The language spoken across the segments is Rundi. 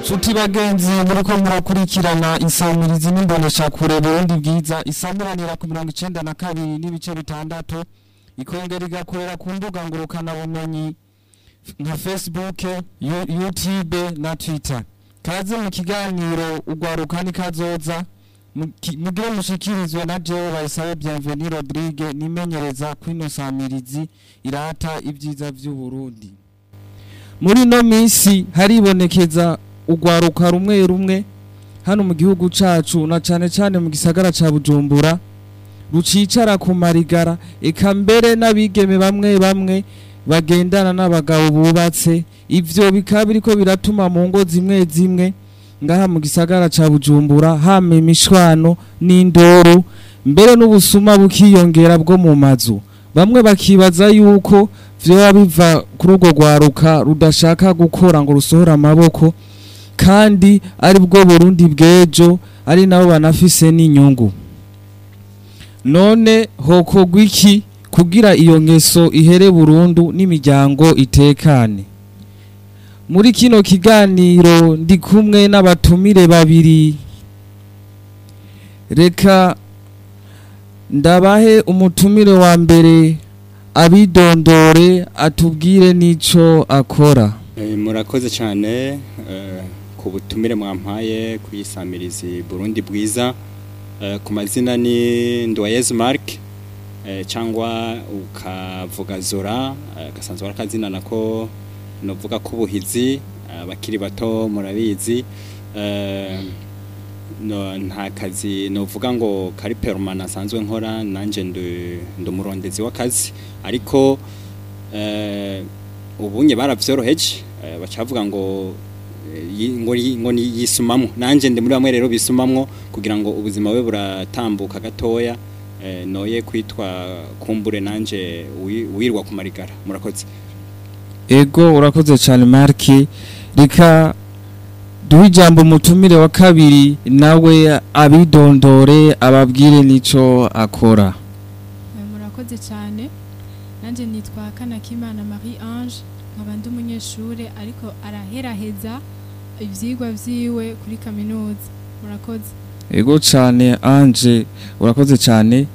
Nshuti bagenzi, muriko murakurikirana insamirizi n'imboneshakure Burundi Bwiza, isamiranira ku 92.6, ikongera igakorera ku mbuga ngurukana bumenyi nka Facebook, YouTube na Twitter. Kaze mu kiganiro Ugwaruka ni Kazoza, mugire mushikirizwe na jewe Bayisabe Bienvenue Rodrigue, nimenyereza kwino samirizi irata ibyiza vy'u Burundi. Muri no minsi haribonekeza ugwaruka rumwe rumwe hano mu gihugu cacu, na cane cane mu gisagara ca Bujumbura, rucicara ku marigara, eka mbere n'abigeme bamwe bamwe bagendana n'abagabo bubatse. Ivyo bikaba biriko biratuma mu ngo zimwe zimwe ngaha mu gisagara ca Bujumbura hama imishwano n'indoro, mbere n'ubusuma bukiyongera bwo mu mazu. Bamwe bakibaza yuko vyoba biva kuri urwo rwaruka rudashaka gukora ngo rusohore amaboko, kandi ari bwo Burundi bw'ejo, ari nabo banafise n'inyungu. None hokorwa iki kugira iyo ngeso ihere burundu n'imiryango itekane? Muri kino kiganiro ndi kumwe n'abatumire babiri. Reka ndabahe umutumire wa mbere abidondore, atubwire n'ico akora. Murakoze cyane ku butumire mwampaye kuyisamirizi Burundi Bwiza. Ku mazina ni Ndoyez Mark, cyangwa ukavuga Zora, gasanzwe ari akazina nako novuga k'ubuhizi, abakiri bato murabizi. No, nta kazi novuga ngo kari permanent asanzwe nkora, nanje ndi umurondezi w'akazi, ariko ubunye baravyoroheje, bacavuga ngo ngo yisumamwo. Nanje ndi muri bamwe rero bisumamwo kugira ngo ubuzima bwe buratambuka gatoya, noye kwitwa kumbure nanje wirwa ku marigara. Murakoze. Ego, urakoze cyane Mark. Reka duhe ijambo umutumire wa kabiri, nawe abidondore, ababwire n'ico akora. Murakoze cyane. Nanjye nitwa Kanakimana Marie Ange, nkaba ndi umunyeshure ariko araheraheza ivyigwa vyiwe kuri kaminuza. Murakoze. Ego cyane Ange, urakoze cyane.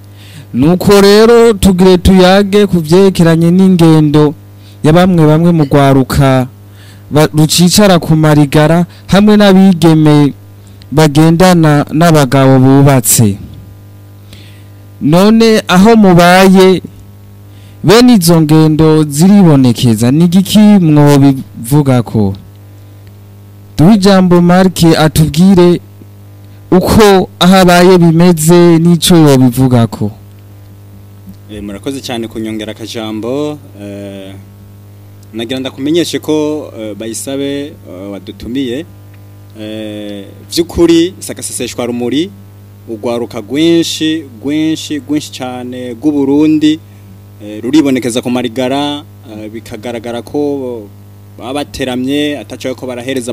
Nuko rero tugire tuyage ku vyerekeranye n'ingendo ya bamwe bamwe mu rwaruka rucicara ku marigara, hamwe n'abigeme bagendana n'abagabo bubatse. None aho mubaye bene izo ngendo ziribonekeza? Ni igiki mwobivugako? Duhe ijambo Mark atubwire uko aho abaye bimeze n'ico yobivugako. Murakoze cyane kunyongera akajambo. Nagira ndakumenyeshe ko Bayisabe wadutumiye, vy'ukuri sakaseseshwa rumuri, ugwaruka rwinshi rwinshi rwinshi cyane rw'u Burundi ruribonekeza ku marigara, bikagaragara ko baba bateramye ataco ko barahereza.